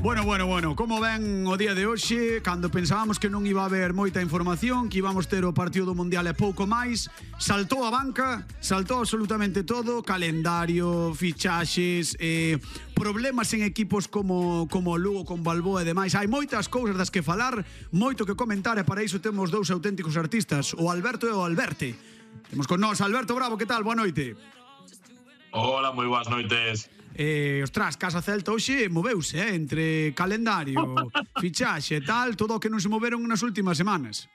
Bueno, como ven o día de hoxe, cando pensábamos que non iba a haber moita información, que íbamos ter o partido do Mundial e pouco máis, saltou a banca, saltou absolutamente todo, calendario, fichaxes, problemas en equipos como o Lugo, con Balboa e demais. Hai moitas cousas das que falar, moito que comentar, e para iso temos dous auténticos artistas, o Alberto e o Alberte. Temos con nós Alberto Bravo, que tal? Boa noite. Hola, moi boas noites. Ostras, Casa Celta hoxe moveuse, entre calendario, fichaxe e tal, todo o que non se moveron nas últimas semanas.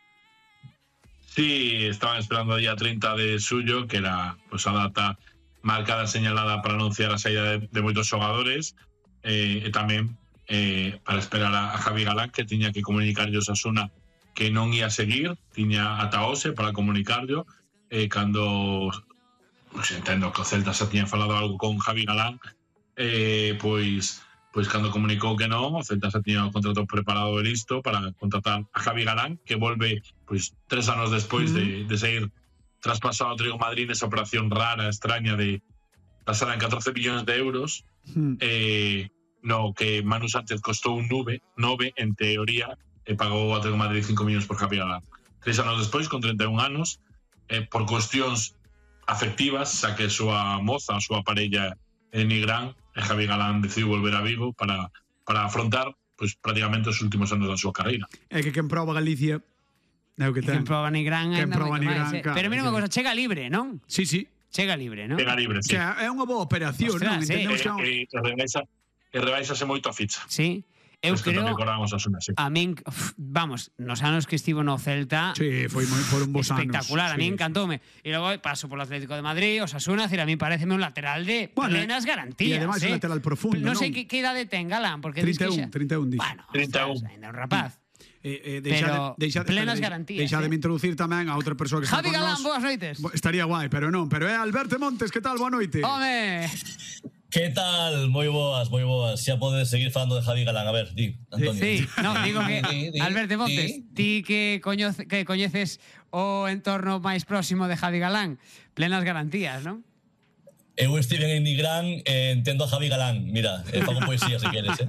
Sí, estaban esperando o día 30 de xullo, que era pues, a data marcada, señalada para anunciar a saída de moitos xogadores, e tamén para esperar a Javi Galán, que tiña que comunicarlle a Osasuna que non ia seguir, tiña ata hoxe para comunicarlo, cando pues, entendo que o Celta xa tiña falado algo con Javi Galán, pois cando comunicou que non, o Celta xa tiña o contrato preparado e listo para contratar a Javi Galán, que volve pois 3 anos despois de seguir traspasado ao Atlético de Madrid nesa operación rara, extraña de pasar en 14 millóns de euros, no que Manu Sánchez costou un 9 en teoría, e pagou o Atlético de Madrid 5 millóns por Javi Galán. 3 anos despois, con 31 anos, por cuestións afectivas, xa que a súa moza, a súa parella Nigrán, e Javi Galán decidiu volver a Vigo para afrontar pues, prácticamente os últimos anos da súa carreira. É que quen proba Galicia é o que ten. Quen proba Nigrán Quen proba Nigrán, claro. Pero mira unha cosa, chega libre, non? Sí. Chega libre, non? Chega libre, sí. Que é unha boa operación, Ostras, non? sí. E rebaixase moito a ficha. Sí. Eu creo, sí. a min, vamos, nos anos que estivo no Celta, sí, foi moi por un bons anos. Espectacular, a mí encantoume. E logo paso polo Atlético de Madrid, Osasuna, a mí pareceme un lateral de plenas garantías. E además un lateral profundo, non sei que idade ten Galán, porque 31 dixo. Bueno, 31. Ainda un rapaz. Pero plenas garantías. Deixademe introducir tamén a outra persoa que está Javi con Galán, nós. boas noites. Estaría guai, pero non. Pero é Alberto Montes, que tal? Boa noite. Home. Que tal? Moi boas. Xa podes seguir falando de Javi Galán. A ver, di, Antonio. Sí, no, digo que Alberto Montes, ti que coñeces o entorno máis próximo de Javi Galán, plenas garantías, non? Eu estive en Nigrán e entendo a Javi Galán. Mira, fago poesía se queres,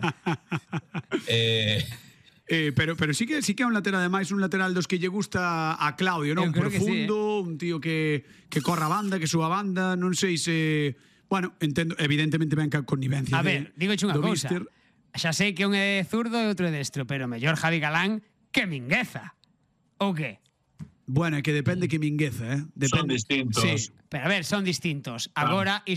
Pero sí que é un lateral, ademais un lateral dos que lle gusta a Claudio, non? Profundo, un tío que corra a banda, que suba a banda, non sei se... Bueno, entendo, evidentemente ven ca connivencia. A ver, digo unha cousa. Xa sei que un é zurdo e outro é destro, pero mellor Javi Galán que Mingueza. Ou que? Bueno, é que depende que Mingueza, Son distintos. Sí, pero a ver, son distintos. Agora